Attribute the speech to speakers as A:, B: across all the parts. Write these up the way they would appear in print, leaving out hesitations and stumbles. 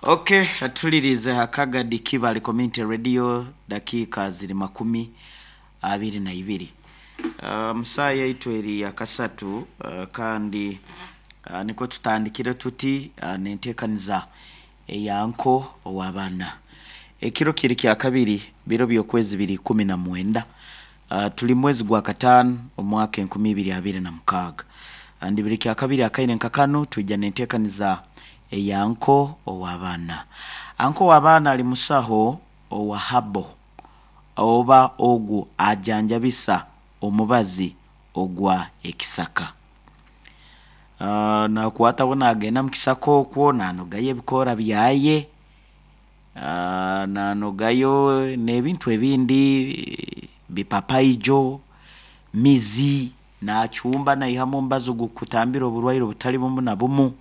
A: Okay, atulirize Hakagadi Kibale Community Radio, dakiika ziri 22. Musaa yaitu eri yakasatu, kandi nikwo tutandikire tuti nenteekaniza eyanko ow'abaana. Ekiro kiri kyakabiri, biro by'okwezi biri 19, tuli mwezi gwa kataano omwaka 2026. Ndi biri kyakabiri akaire nka kanu twija nenteekaniza eyanko ow'abaana. Anko w'abaana ali musaho owa habo oba ogu ajanjabisa omubazi ogwa ekisaka. Nakwataho nagenda mukisaka okwo nanogayo ebikoora byaye, nanogayo n'ebintu ebindi bipapaijo, mizi, nachumba naihamu omubazi ogukutambira oburwaire obutali bumu na bumu.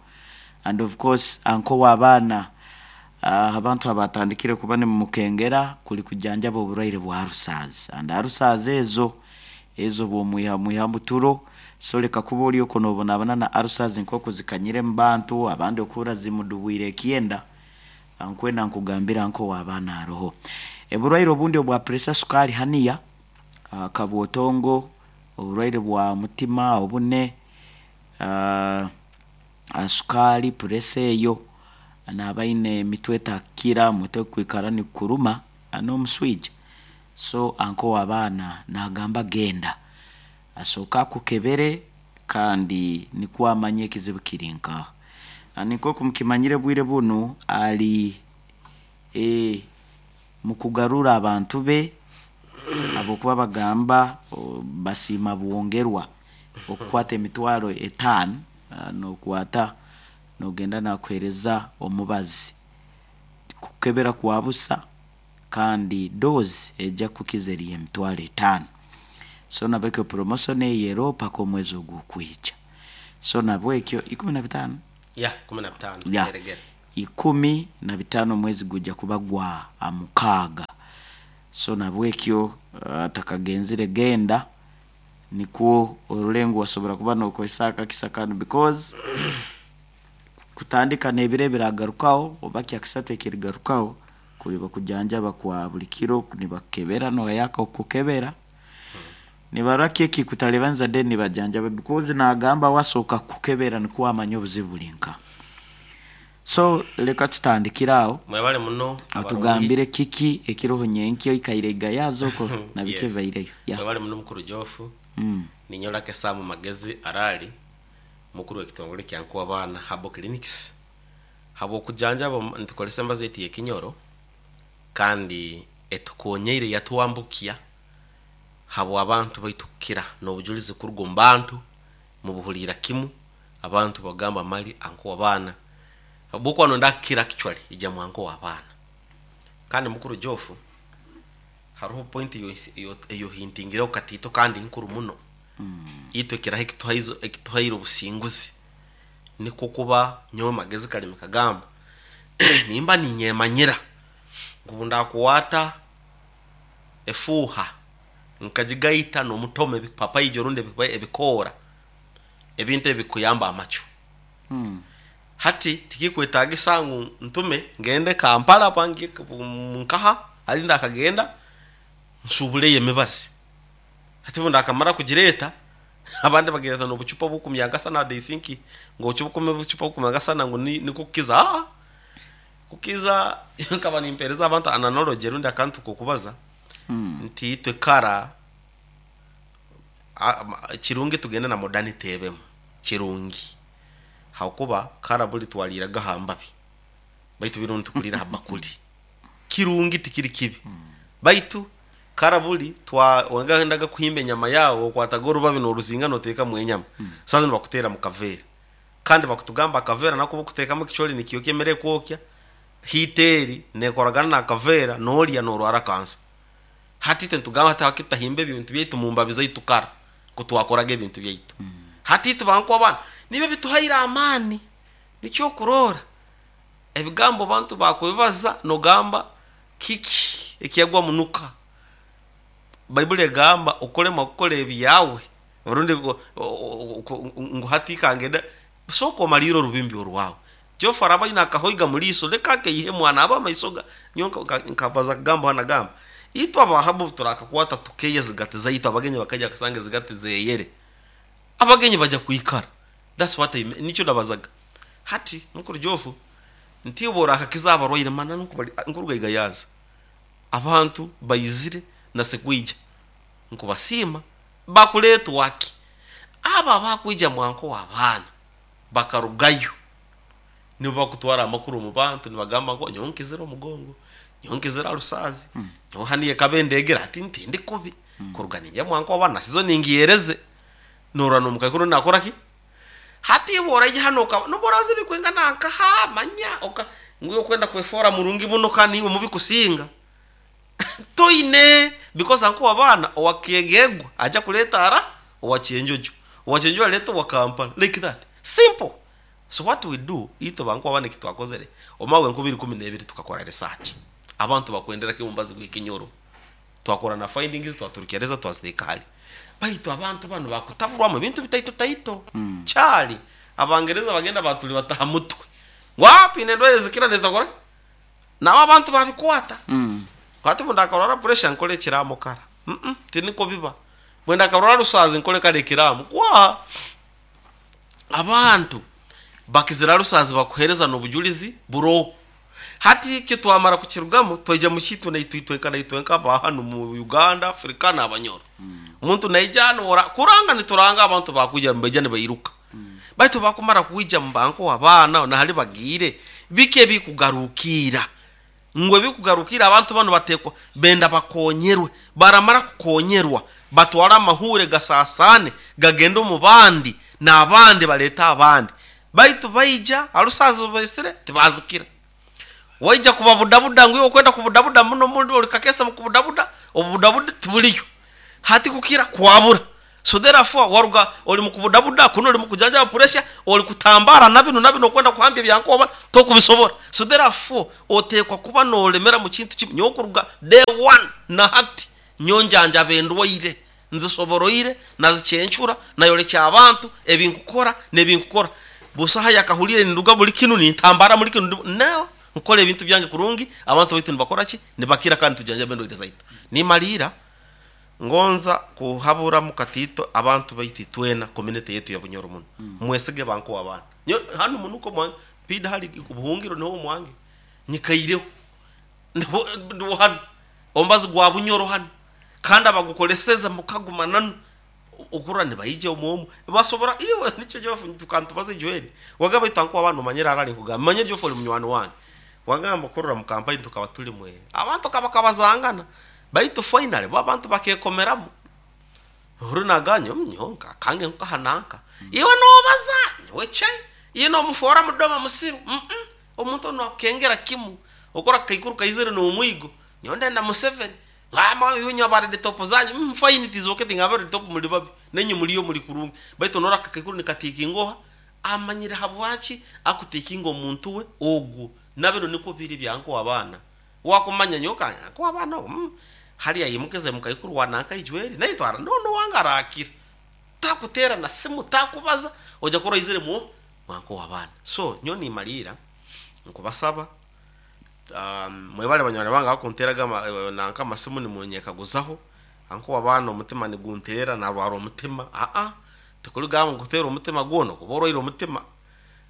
A: And of course anko w'abaana, abantu abatandikire kuba nimumukengera kuli kujanjaba oburwaire bwa ulcers, and ulcers ezo ezo bwomwiha muturo, so leka kuba ori okwo nobonabona na ulcers nkoku zikanyire mubantu abandi okuhurra zimudubwire ekyenda. Nkwenda nkugambire anko w'abaana aroho oburwaire obundi obwa pressure, sukali, haniya, kabwotongo, oburwaire bwa mutima obune, sukali, pressure eyo, nabaine emitwe etakira, omutwe kwikara nigukuruma n'omuswija. So anko w'abaana nagamba genda asooke akukebere kandi nikwo amanye ekizibu kiri nkaha. Nkoku mukimanyire obwire bunu ali mukugarura abantu be habwokuba bagamba basiima bwongerwa okukwata 50,000, nokwata nogenda nakuhereza omubazi kukebera kwa busa kandi dose eja kukiza eri 50,000. So nabwekyo promotion eyo eroho paka omwezi ogukwija. So nabwekyo 15?
B: Ya, 15.
A: Ya,
B: eregere.
A: 15 omwezi gujja kuba gwa mukaaga. So nabwekyo atakagenzire genda nikwo orole ngu wasobora kuba nokozesa akakisa kanu, because kutandika n'ebiro ebiragarukaho oba kyakisatu ekirigarukaho kuliba kujanjaba kwa buli kiro nibakukebera noyaka okukukebera nibarora ki ekikutalibaniza, then nibajanjaba, because nagamba wasooka kukukebera nikwo wamanya obuzibu buri nkaha. So leka tutandikire aho.
B: Mwebale muno abarungi.
A: Otugambire kiki ekiroho nyenkya, oikaire igayaza okwo na biki ebibaireyo. Ya.
B: Mwebale muno mukuru Jofu. Ninyorake Sam Magezi Arali, mukuru w'ekitongole kya Nkuwabaana Herbal Clinics. Habw'okujanjaba nitukozesa embazo yaitu y'ekinyoro kandi etukonyeire yatwambukya habw'abantu baitu kukira n'obujulizi kuruga omu bantu mubuhuliira kimu. Abantu bagamba mali anko w'abaana habwokuba nonda kukira actually ija mu anko w'abaana. Kandi mukuru Jofu, haroho point eyohintingireho katiito kandi nkuru muno. Itwe kiraho ekituhaire obusinguzi nikwo kuba nyowe Magezi Kalimi kagamba nimba ninyemanyira ngu ndakwata efuuha nkagigaita n'omutoma ebipapaijo rundi ebikoora, ebintu ebikuyamba amacu. Hati tikikwetagisa ngu ntume ngende Kampala pangi nkaha hali ndakagenda nsubuleyo emibazi. Hati obu ndakamara kugireeta, abandi bagireta n'obucupa obukumyangasana, they think ngu obucupa obukumyangasana ngu nikwo kukiza. Aa kukiza nkaba nimpereza abantu an analogy rundi akantu k'okubaza nti itwe kara kirungi tugende na modernity ebemu kirungi, habwokuba kara buli twaliiraga ha mbabi baitu binu nitukuliira ha bakuli. Kirungi tikiri kibi, baitu kara buli wagendaga kuhimba enyama yawe okwataga orubabi n'oruzinga n'oteekamu enyama. Saaha zinu bakuteera mu kaveera, kandi bakutugamba akaveera nako obu okuteekamu ekicooli nikyokya emere ekwokya, heat eri nekoragana n'akaveera n'olya n'orwara kansa. Hati itwe nitugamba hati habwaki tutahimba ebintu byaitu mu mbabi zaitu kara nku twakoraga ebintu byaitu. Hati itwe banku abaana nibyo bituhaire amaani. Nikyo okuroora ebigambo abantu bakubibaza nogamba kiki ekyagwa munuka. Baibuli egamba okulema kukora ebyawe rundi ngu hati kangende, sooka omaliire orubimbi orwawe. Jofu araba aine akahoiga mu liiso, leka akeihe mwana aba amaiso ga nyowe nkabaza kugamba hanu nagamba itwe abahabu turakakwata tukeeya ezigati zaitu, abagenyi bakaija bakasanga ezigati zeyere, abagenyi baja kwikara. That's what I mean, nikyo nabazaga. Hati mukuru Jofu, nti borakakiza abarwaire mananu nkuruga Igayaza, abantu baizire na sikwija nkubasiima bakuleetwa ki? Abo abakwija mwanko w'abaana bakarugayo nibo bakutwara amakuru omu bantu nibagamba ngu nyowe nkizire omugongo, nyowe nkizire alusaazi, nyowe hanu ekaba endegere hati ntindi kubi, kuruga ninjya mwanko w'abaana na sizo ningihereze. Norora n'omukaikuru nakora ki? Hati iwe oraija hanu okaba nobu oraza ebikwingana nkaha manya oka ngu okwenda kwefoora murungi muno kandi niiwe mubi kusinga. Toine because anko w'abaana owa Kyegegwa aja kuleeta ara owa Kyenjojo, owa Kyenjojo aleete owa Kampala like that. Simple. So what we do, itwe banko w'abaana eki twakozere, omwaka gwa 2012 tukakora research. Abantu bakwendera ki omubazi gw'ekinyoro? Twakora na findings twaturukyereza twaziteeka hali. Baitu abantu banu bakutaburwamu ebintu bitaito taito. Kyali Abangereza bagenda batulibata ha mutwe ngu twine endwaire ezikira nezitakora ki? Nabo abantu babikwata. Hati obu ndakarwara pressure nkore ekiraamo kara. Tinikwo biba. Bwe ndakarwara rusaazi nkore kara ekiraamo. Kwaa! Abantu bakizire rusaazi bakuheereza n'obujulizi buroho. Hati ekyo twamara kukirugamu twaija mu kiitu naitwe itwenka naitwenka aba hanu mu Uganda, Africa n'Abanyoro. Omuntu naija hanu ora kuranga nituranga abantu bakwija nibaija nibairuka. Baitu bakumara kwija mu banko abaana na hali bagiire, biki ebikugarukiira? Ngu ebikugarukiira abantu banu bateekwa benda bakonyerwe. Baramara kukonyerwa batwale amahuure gasaasaane gagende omu bandi n'abandi baleete abandi. Baitu baija ha rusaazi rubaisire tibaazikira. Waija kubabudabuda ngu iwe okwenda kubudabuda muno muno oli kakeesa mu kubudabuda, obubudabuda tibuliyo. Hati kukira kwabura. So therefore waruga oli mu kubudabuda, kunu oli mu kujanjaba puresha, oli kutambaara na binu na binu okwenda kuhambya ebyankoba tokubisobora. So therefore oteekwa kuba noolemera mu kintu kimu. Nyowe kuruga day one na hati nyowe njanjaba endwaire, nzisoboroire, nazikyencura, nayorekya abantu ebi nkukora n'ebi nkukora. Busaho ayakahuliire ninduga buli kinu nintambara muli kinu no, nkora ebintu byange kurungi, abantu baitu nibakora ki? Nibakira kandi nitujanjaba endwaire zaitu. Nimaliira ngonza kuhaburamu katiito abantu baitu itwena community yaitu ya Bunyoro muno. Mwesige banko w'abaana. Nyowe hanu munuka omwange, piida hali obuhungiro niho omwange, nyikaireho. Ndiho hanu, omubazi gwa Bunyoro hanu kandi abagukoleseze mukaguma nanu okurora nibaija omu omu basobora iwe nikyo Geoff tukantubaza ijweri wagamba baitu anko waba nomanyira arali nkugamba manyire Geoff oli munywani wange wagamba okurora mu kampani tukaba tuli mwe abantu kabakabazangana baitu finally bo abantu bakekomeramu Oru naganya nyowe akange nkaha nanka iwe nobaza nyowe chai iwe nomufoora mudoma musiru omuntu onu akukengera kimu okora akaikuru kaizire n'omwigo nyowe ndenda Museveni inywe aba red top zanyu fine it is okay tingamba red top muli babi nainywe muliyo muli kurungi baitu norora akakaikuru nikatiikinga oha amanyire habwaki akutiikinga omuntu we ogwo nabinu nikwo biri byankuha abaana wakumanya nyowe nkuha abaana hali aimukize mukaikuru wa nanka ijweri naitwe n'owange arakira takuteera na simu takubaza oija kurora aizire mu mwankuha abaana so nyowe nimaliira nkubasaba mwebale banywani bange abakunteraga nanka amasimu nimunyekaguzaho ankuha abaana omutima nigunteera narwara omutima tikuli gamba ngu kuteera omutima gwona okuba orwaire omutima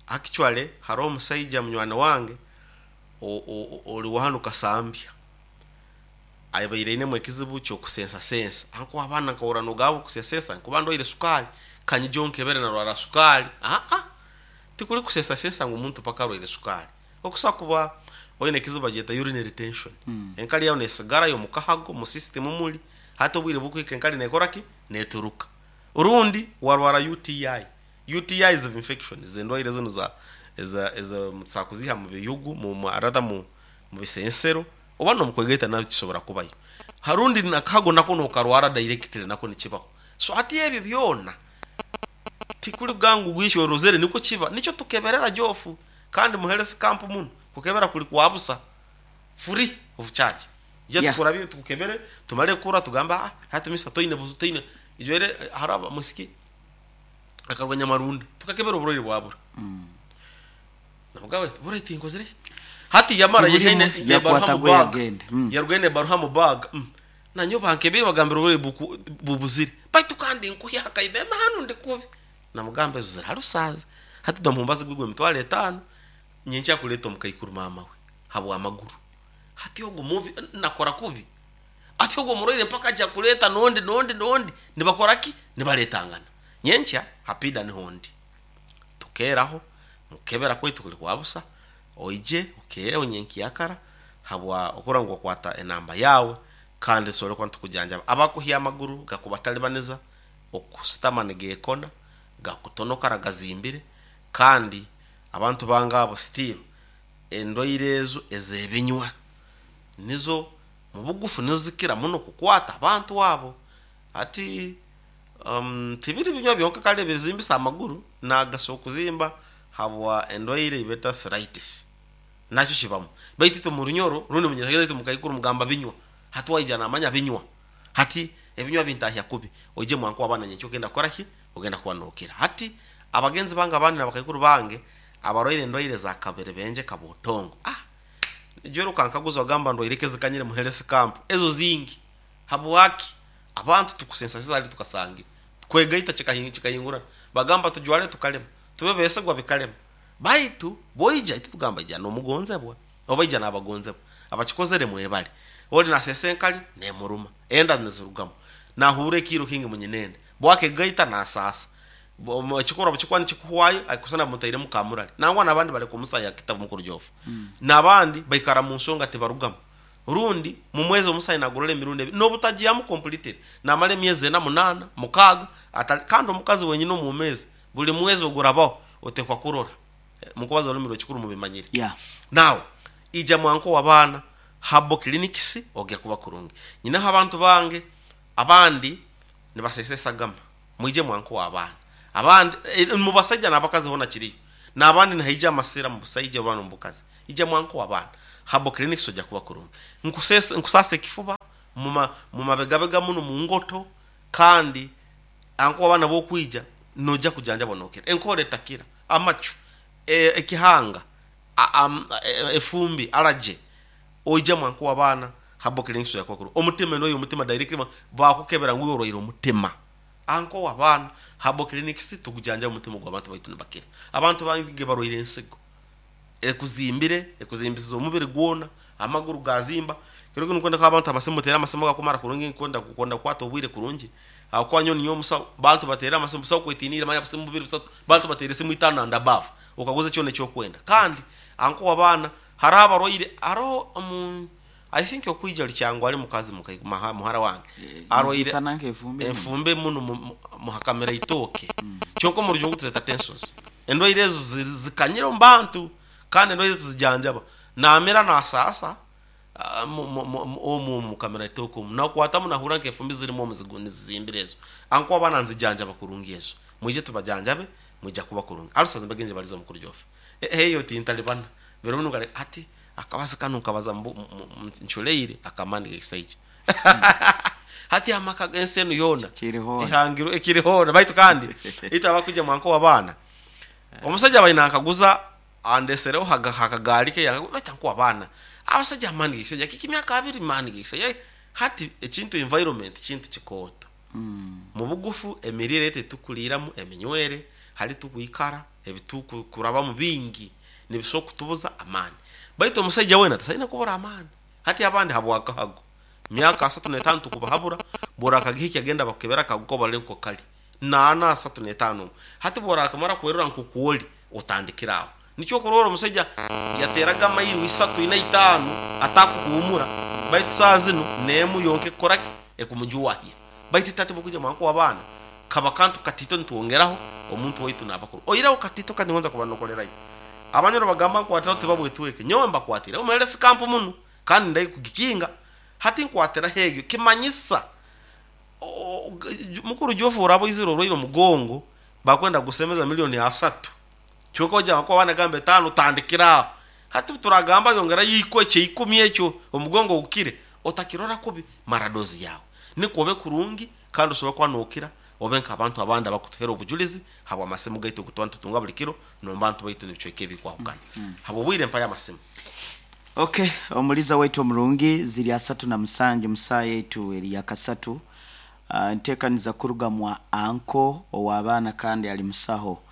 B: actually haroho omusaija munywani wange ori wa hanu Kasambya abaire ainemu ekizibu ky'okusensasensa ankuha abaana nkahurra nogamba okusensensa nkuba ndwaire sukaali kanyije onkebere narwara sukaali tikuli kusensasensa ngu omuntu paka arwaire sukaali okusa kuba oine ekizibu bagyeta urinary retention enkari yawe nesigarayo omu kahago mu system muli hati obwire bukuhika enkari nekora ki neturuka rundi warwara UTI UTI is infection endwaire zinu za tusobola kuziiha mu biyugu rather mu bisensero oba n'omukwegaita nayo kisobora kubayo harundi nakahago nako nokarwara directly nako nikibaho so hati ebyo byona tikuli kugamba ngu gwikyo orozere nikwo kiba nikyo tukeberera Geoff kandi mu health camp munu kukebera kuli kwa busa free of charge ija tukurabye tukukebere tumare kukura tugambe hati mister toine buzibu toine ijwere hariho omwisiki akaruga Nyamarunda tukakebera oburwaire bwabura. Namugamba ati, "Bura tinkozire ki?" Hati yamara
A: Tiburimu,
B: yehaine nebaruha
A: yakwata
B: mu
A: gwe
B: bag.
A: yagenda.
B: Yarugayo nebaruha mu bag. Nanyowe bankebire bagambira obure bubuzire. Baitu kandi nkuhya hakaibema hanu ndi kubi. Namugamba ezo zirarusaza. Hati damumbaza gwigwe 50,000 nyenkya kuleta omukaikuru mama we habwa amaguru. Hati ogu mubi nakora kubi. Ati ogwo murwaire mpaka aja kuleta nondi nondi nondi nibakora ki? Nibaletangana. Nyenkya hapida niho ndi. Tukeraho mukebera kwaitu kuli kwa busa oije okere onyenkyakara habwa okura ngu okwata enamba yawe kandi nsobole kuba nitukujanjaba. Abakuhya amaguru gakubatalibaniza okusitama nigekona gakutonokara gazimbire kandi abantu bange abo still endwaire ezo ezebinywa nizo mubugufu nizo zikira muno kukwata abantu abo. Ati tibiri binywa byonka kale bizimbisa amaguru nagasa okuzimba habwa endwaire ibeta arthritis nakyo kibamu. Baitu itwe mu runyoro rundi munyesageza itwe mukaikuru mugamba binywa hati waija namanya binywa hati ebinywa bintahya kubi oije mwanku abana nyenkyo ogenda kukora ki ogenda kuba nokira. Hati abagenzi bange abandi nabakaikuru bange abarwaire endwaire za kabere benje kabotongo joro kankaguza wagamba ndwaire kezikanyire mu health camp ezo zingi habwaki abantu tukusensasiza ali tukasangira kwegaita chikahingura bagamba tujwale tukalema tube besegwa bikalema baitu boija itu tugamba ija nomugonzebwa oba ija nabagonzebwa abakikozere mwebale oli nasesenkali nemuruma enda nezirugamo nahure kiro kingi munyinende bwake gaita nasasa ekikora bukikwani kikuhwayo akusana mutaire mukamurali nangwa nabandi bali kumusaya kitabu mukuru jofu nabandi baikara mu nsonga tibarugamu rundi mu mwezi omusayi nagurora emirundi ebiri nobutagiyamu completed namara emyezi ena munana mukaga kandi omukazi wenyine omu mezi buli mwezi ogurabaho otekwa kurora mukubaza olulimi rwekikuru mubimanyire. Now ija mwanko w'abaana habo clinics ogya kuba kurungi nyinaho abantu bange abandi nibasesa esagama mwije mwanko w'abaana abandi mu basajja n'abakazi hona kiriyo n'abandi nihaija amasira mu busaija oba mu bukazi ija mwanko w'abaana habo clinics ojya kuba kurungi nkusasa ekifuba mu mabegabega muno mu ngoto kandi anko abaana bokwija noja kujanja bonokera enkore etakira amacu ekihanga efumbi alaje oija mwanko w'abaana habo clinics ojya kuba kurungi omutima noyo omutima directly bakukebera ngu orwaire omutima anko w'abaana habo clinics tukujanja omutima gw'abantu baitu nibakira abantu bange barwaire ensigo ekuzimbire ekuzimbisiza omubiri gwona amaguru gazimba kiro kinu kwenda abantu amasimu tera amasimu gakumara kurungi nkwenda kukonda kwata obwire kurungi akwanyo ninyo musa bantu batera amasimu busa kwetinira manya busimu bubiri busatu bantu batera esimu itano and above okaguza kyo nekyo kwenda kandi anko wabana hariho abarwaire hariho I think okwija likyangwa ali mukazi muhara wange arwaire
A: Sana nk'efumbi
B: enfumbe muno muhakamera itoke kyonka mu rujungu tuzeta tensions endwaire ezo zikanyira omu bantu kandi endwaire tuzijanjaba namera nasasa omu mukamera itoke omu nakwatamu nahura nk'efumbi zirimu omuzigu nizizimbire ezo anko abaana nzijanjaba kurungi ezo mwije tubajanjabe mwija kuba kurungi arusaza mbagenje baliza mukuru jofu heyo tintalibana bero muno kale ati akabaza kanu kabaza nchuleire akamani gekisaija hati amaka gensenu yona
A: Kirihona.
B: ihangiro ekirihona baitu kandi ita abakuja mwanko w'abaana omusajja balina akaguza andesereho hakagaali ke baita nko abaana abasajja amani gekisajja kiki myaka abiri mani gekisajja hati ekintu environment kintu kikooto mu bugufu emirire tetukuliramu eminywere hali tukwikara ebitukurabamu bingi nibisobola kutubuza amaani baitu omusajja wena tasaina kubura amaani hati abandi habwakahago myaka 35 tukubahabura bora akagihiki agenda bakukebera akaguko bali nko kali nana 35 hati bora akamara kwerura nkukuoli otandikira aho nikyo kurora omusajja yateraga amayiro isatu ina itano atakukuhumura baitu saa zino nemu yonke koraki ekumujuwahya baitu tate bukuja mwanko w'abaana kaba kantu katito nituwongeraho omuntu waitu nabakuru oiraho katito kandi ngonza kubanokolerayo abanyoro bagamba nkwatira tibabwetweke nyowe mbakwatira omuherefu kampu muno kandi ndai kugikinga hati nkwatira hegyo kimanyisa mukuru jofu urabo iziro orwaire omugongo bakwenda gusemeza milioni asatu kyonka oja nko abana gambe tano tandikira hati turagamba yongera yiko ekyo ikumi ekyo omugongo gukire otakirora kubi maradozi yawe nikuobe kurungi kandi osobola kuba nokira Obe nk'abantu abandi abakutuhera obujulizi habw'amasimu gaitu kutuba nitutunga buli kiro n'omu baitu n'ebicweka ebikwahukana. Habw'obwire mpayo amasimu.
A: Okay, omuliza waitu omurungi ziri 37 musaa yaitu eri yakasatu. Ntekaniza kuruga mwa anko ow'abaana kandi ali musaho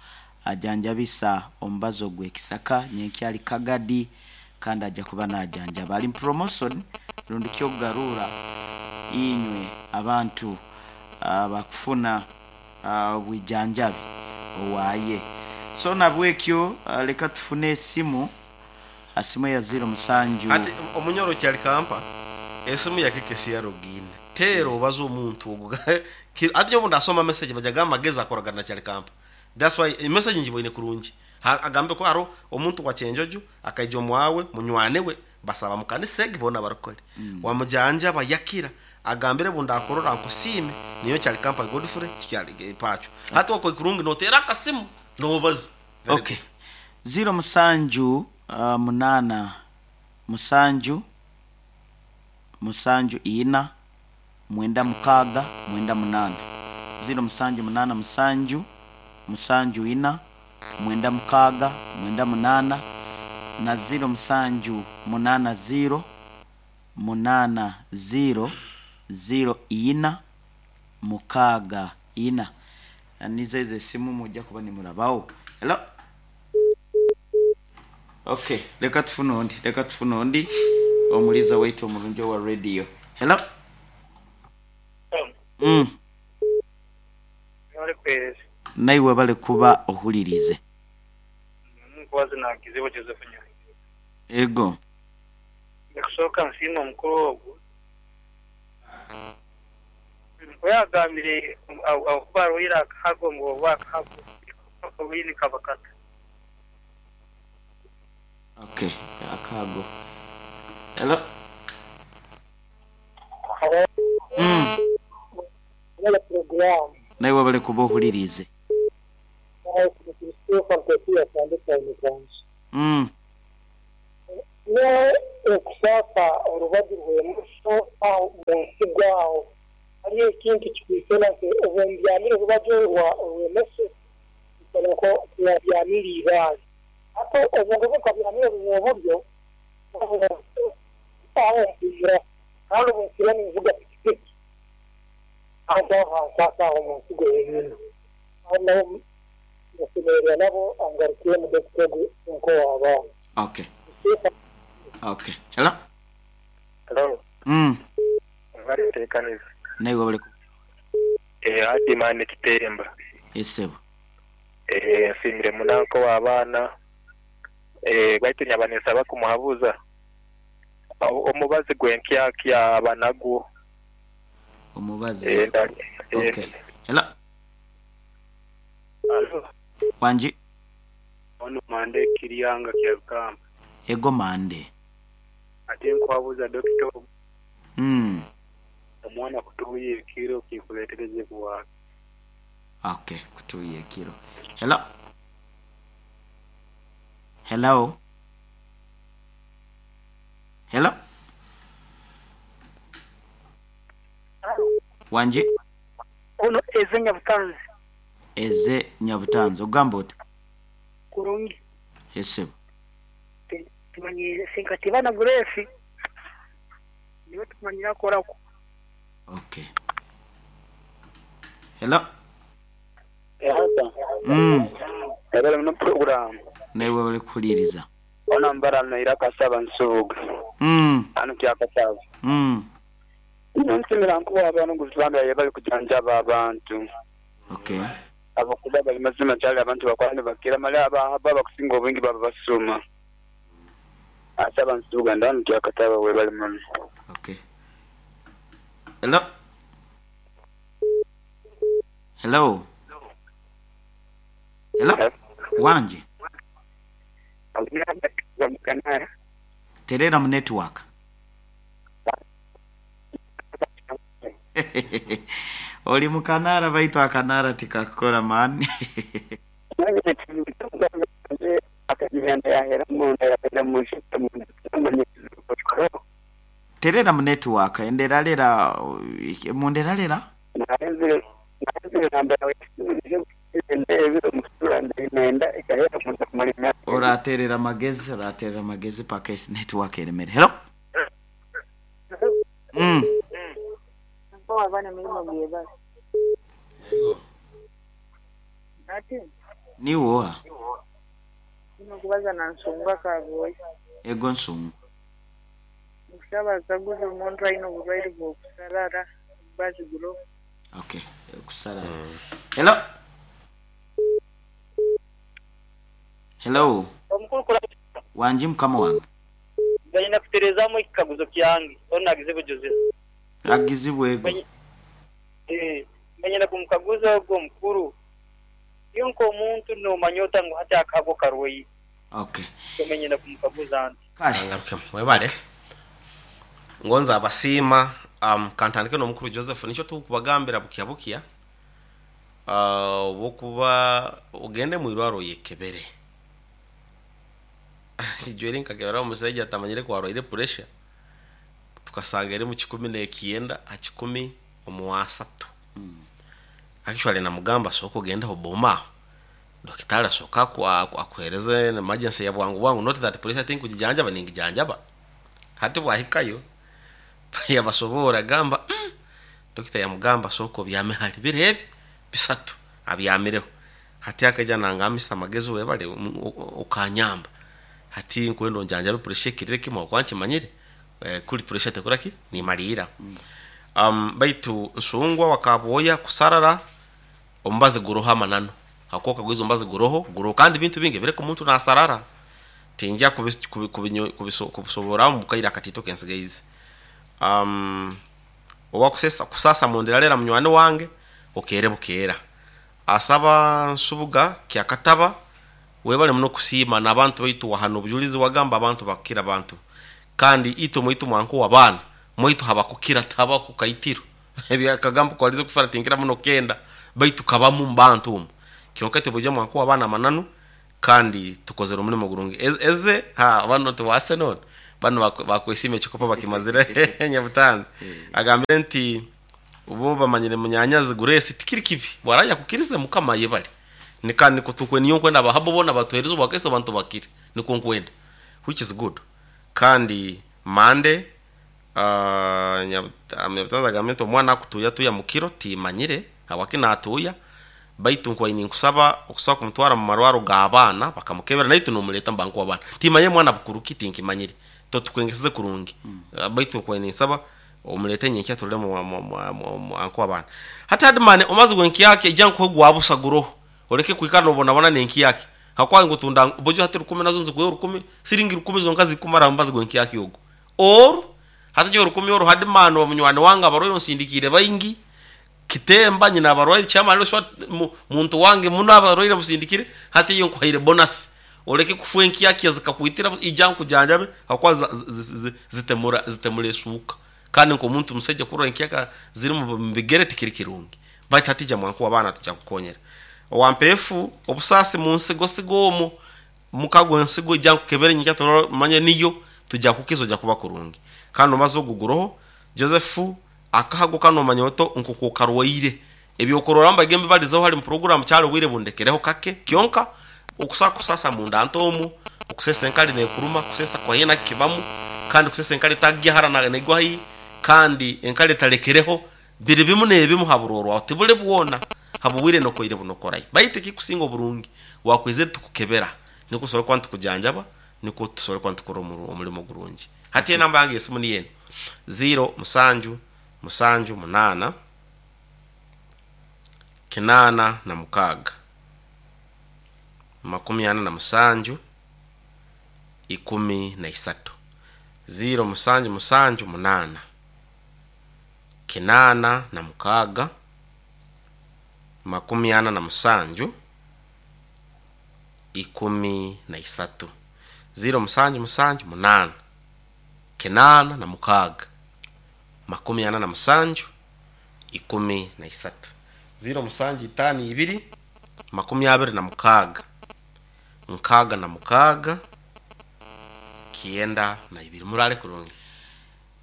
A: ajanjabisa omubazi ogw'ekisaka nyenkyali Kagadi kandi aja kuba najanjaba ali mu promotion rundi kyokugarura inywe abantu abakufuna obwijanjabi owaye. So nabwekyo leka tufune esimu asimu eya ziro musanju.
B: Ati omunyoro kyali kampa esimu yakekesi ya login teera obaze omuntu ogu ati nyowe obundasoma message baja gamba magezi akoragana na kyali kampa that's why message ngiboine kurungi agambe ku haroho omuntu wa kyenjojo akaija omwawe munywani we basaba mukanisa egi bona abarokole wamujanjaba yakira agambire obundakurora nkusiime ninyowe kyali kampa Godfrey kikyali pacho hati okoi kurungi notera akasimu nobaza. Very
A: Okay.
B: good.
A: Ziro musanju munaana musanju musanju ina mwenda mukaaga mwenda munaana. Ziro musanju munaana musanju musanju ina mwenda mukaaga mwenda munaana na ziro musanju munaana ziro munaana ziro ziro ina mukaaga ina. Nizo ezo esimu mujja kuba nimurabaho. Hello? Okay, leka tufune ondi, leka tufune ondi omuliza waitu omurungi owa radio. Hello? Naiwe bale kuba ohulirize. Ego.
C: Kusooka nsiima omukuru ogwo oyagambire okuba arwaire akahago ngu oba akahago obwini kabakata.
A: Okay, akahago. Hello? Naiwe bale kuba ohulirize.
D: Okusasa orubaju rw'emuso aho munsigo aho hariyo ekintu kikwisana nti obumbyamire orubaju orw'emoso nko kubyamire ibaale ate obuntu nkabyamire oburyo aho mpumura kandi obunsira ninvuga pikipiki aho hansasa aho munsigo yenyini aho nabo nsemererwa nabo angarukiye mu dokita nko w'abaana.
A: Okay. Okay. Hello?
E: Hello. Bali tekaniza.
A: Naiwe bali
E: Adi mane kitemba.
A: Esebo.
E: Nsimire munanko w'abaana. Baitu nyabanesa bakumuhabuza. Omubazi gwenkyakya abanagwo.
A: Omubazi. Okay. Hello?
C: Hello.
A: Wanji.
C: Ono mande kiryanga kya Rukamba.
A: Ego mande.
C: Ate nkwabuza dokita. Omwana kutuuya ekiro kikuleetereze kuwaaka.
A: Okay, kutuuya ekiro. Hello? Hello? Hello? Wanji?
D: Ono Eze Nyabutanzi.
A: Eze Nyabutanzi, ogamba oti?
D: Kurungi.
A: Esebo.
D: Tumanyire sinkatiba na Grace. Niwe tumanyira akorako.
A: Okay. Hello?
E: Ehata. Ebele muno program.
A: Naiwe bali kuhuliriza.
E: Ona mbara naira kasaba nsubuga. Anu kyakasaba. Nsimira nkuba abantu nguzibanda yebali kujanjaba abantu.
A: Okay.
E: Abakuba bali mazima kyali abantu bakwani bakira mali aba bakusinga obwingi baba basuma. Asaba nsubuga ndanu kyakataba webali muno.
A: Okay. Hello? Hello? Hello? Wanje? Terera mu network. Oli mukanara baitu akanara tikakora man. Terera mu network enderalera munderalera. Oraterera amagezi, oraterera amagezi paka network eremere. Hello.
F: Mpowa abaana emirimu gyebale.
B: Yego.
F: Ati
A: Niwe oha?
F: ino kubaza na nsonga kaboyi.
A: Ego nsonga.
F: Nkusaba akaguza omuntu alina obulwaire bw'okusarara bazi gulo.
A: Okay, kusarara. Hello. Hello.
D: Omukuru kula
A: Wangi mukama wange.
D: ganyina kuterezamu ekikaguzo kyange onagizibwe Joseph.
A: Agizibwe ego.
D: Nganyina kumukaguza ogwo omukuru iyo nk'omuntu nomanya ota ngu hati akago karwaire.
A: Okay.
D: Tomenyina kumukaguza nti
A: Kale.
B: Angarukemu webale ngonza abasiima. Kantandike n'omukuru Joseph, nikyo tukubagambira bukya bukya, obwokuba ogende mwirwaro oyekebere. Ijweri nkakebera omusaija atamanyire kwarwaire pressure, tukasanga eri mu 19 ha 1 omuwasatu. Actually namugamba sooka ogende hoboma dokitari asooka akuhereze emergency ya bwangu bwangu, not that pressure tinkugijanjaba, ningijanjaba. Hati bwahikayo yabasobora gamba, dokita yamugamba sooka obyame hali biro ebi bisatu abyamireho. Hati akaija nangambisa amagezi, webale okanyamba, hati nkwenda onjanjabe pressure ekirire kimwe okwa nkimanyire, kuri pressure tekuraki nimaliira. Baitu nsungwa wakaboya kusarara omubazi guroho amanano hakoka gwizo omubazi guroho guroho, kandi bintu bingi bireka omuntu nasarara tinja kubisobora mukaira akatito kensigaize. Owa kusesa kusasa mundira lera munywani wange okere bukera asaba nsubuga kyakataba webale muno kusiima n'abantu baitu wahano obujulizi wagamba abantu bakukira abantu, kandi itwe mwitu mwanku w'abaana mwitu habakukira tabakukaitiro ebyakagambo kwalize kufara tinkira muno kenda baitu kabamu mbantu omu kyonka tebujja mwanku w'abaana amananu kandi tukozere omulimo gurungi. Eze ha bano tewase none bano bakwesiima ekikopo bakimazire nyabutanzi agambire nti ubo bamanyire munyanyazi Grace tikiri kibi bwaraya kukirize mukama yebale nikandi kutukwe niyo nkwenda abahabo bona batuhereza obwakeso abantu bakire niko nkwenda, which is good. Kandi mande nyabutanzi agambire nti omwana akutuya tuya mukiro timanyire hawaki natuya baitu nkwaini nkusaba okusaba kumutwara mu marwaro g'abaana bakamukebera naitu nomuleta mbanku abaana timanye mwana bukuruki tinkimanyire totukwengeseze kurungi. Baitu nkwaini nsaba omulete nyenkya turule mu anku abaana hati hadimane omazi gwenki yake ija nkuhe gwabusa guroho oleke kwikara nobonabona nenki yake hakwa ngutunda bojo hati 10 nazo nzikuhe 10 siringi 10 zonka zikumara omubazi gwenki yake ogo or hati jo 10 oro hadimane omunywani wange abarwaire onsindikire baingi kitemba nyina abarwaire chama lero swa muntu wange muno abarwaire musindikire hati iyo nkuhaire bonus oleke kufuwa enki yake zikakuitira ija nkujanjabe hakwa zitemura esuuka kandi nkomuntu musajja kurora enki yaka ziri mu bigere tikiri kirungi baitu hatija mwanku abaana tujja kukonyera owampeefu obusaasi mu nsigo sigo omwo mukago ensigo ija nkukebere nyikya turora manye niyo tujja kukiza ojja kuba kurungi. Kandi omaze oguguroho Joseph akahago kano omanya oto nkukukarwaire ebyokurora mbagembe balizeho hali mu program kyali obwire bundekereho kake kyonka okusa kusasa munda ntomu okusesa enkali nekuruma kusesa kwayena kibamu kandi kusesa enkali tagyahara na negwahi kandi enkali talekereho biri bimu nebimu haburorwa tibule bwona habubwire nokoire bunokorai baitu kikusinga oburungi wakweze tukukebera niko sore kwa ntukujanjaba niko tusore kwa ntukora omulimo gurungi. Hati enamba yange esimu ni yeno 0 7 7 8 86 47 13 0 7 7 8 86 47 13 0 7 7 8 86 47 13 0 7 5 2 26 66 92. Murale kurungi.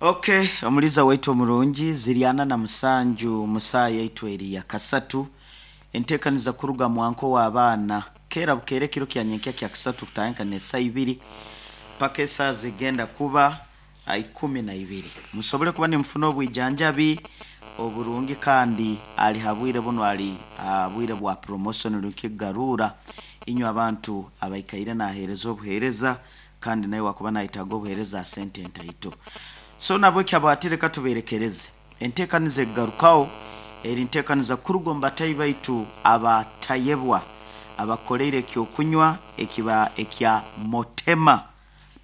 A: Okay, omuliza waitu omurungi ziriana na musanju musaa yaitu eri ya kasatu entekaniza kuruga mwanko w'abaana. Kukeera bukeera ekiro kya nyenkya kya kisatu kutandika n'esaa ibiri paka esaa zigenda kuba 12. Musobole kuba nimufuna obwijanjabi oburungi kandi ali ha bwire bunu ali ha bwire bwa promotion rukigarura inywe abantu abaikaire naheereza obuheereza kandi nawe wakuba nayetaaga obuheereza sente ntaito. So nabwo kyabwatire katuberekereze enteekaniza egarukaho eri nteekaniza kuruga omu batayi baitu abatayebwa abakoleire ekyokunywa ekiba ekya Motema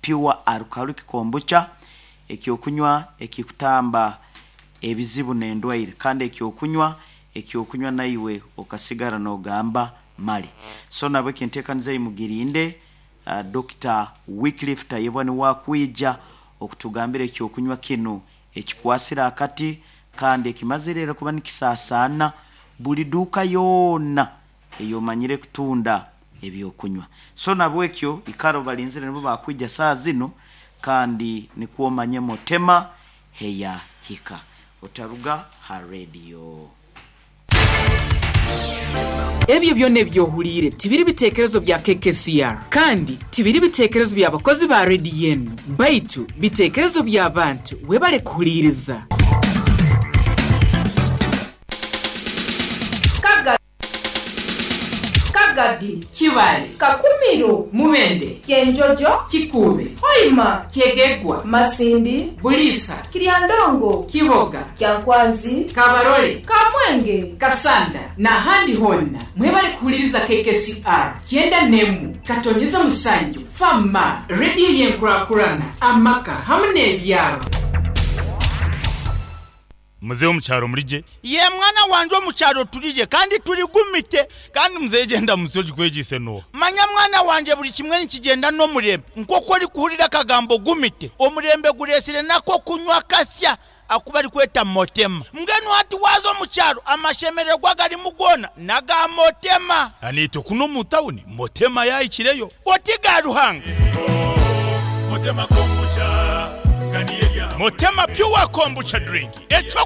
A: Pure Alcoholic Kombucha, ekyokunywa ekikutamba ebizibu n'endwaire kandi ekyokunywa naiwe okasigara n'ogamba mali. So nabwo ekinteekaniza imugirinde Dr. Wycliffe Tayebwa niwe akwija okutugambira ekyokunywa kinu ekikwasire akati kandi ekimazire era kuba nikisasaana buli duuka yoona eyomanyire kutunda ebyokunywa. So nabwekyo ikara obalinzire nibo bakwija saa zinu kandi nikwo omanye Motema heya hika. Otaruga ha radio.
G: Ebyo byona ebyohuliire tibiri bitekerezo bya KKCR kandi tibiri bitekerezo bya bakozi ba rediyo enu, baitu bitekerezo by'abantu webale kuhuliiriza.
H: Kagadi,
G: Kibale,
H: Kakumiro,
G: Mubende,
H: Kyenjojo,
G: Kikuube,
H: Hoima,
G: Kyegegwa,
H: Masindi,
G: Buliisa,
H: Kiryandongo,
G: Kiboga,
H: Kyankwanzi,
G: Kabarole,
H: Kamwenge,
G: Kasanda n'ahandi honna mwebale kuhuliriza KKCR 91 7 Fama rediyo y'enkurakurana amaka hamu n'ebyaro.
I: Muzehe omukyaro murije?
J: Ye mwana wanje omukyaro turije kandi turigumite.
I: Kandi muzehe genda musi ogikwegise noha?
J: Manya mwana wanje buli kimwe nikigenda n'omurembe. Nk'oku orikuhurira akagambo gumite, omurembe guresire nako kunywa kasya aku barikweta Motema. Mbwenu hati waaza omu kyaro amashemererwa garimu goona n'aga Motema.
I: Aniitwe kunu omu tawuni Motema yahikireyo.
J: Oti ga Ruhanga.
I: Motema kombucha. Motema Pure Kombucha drink. Ekyo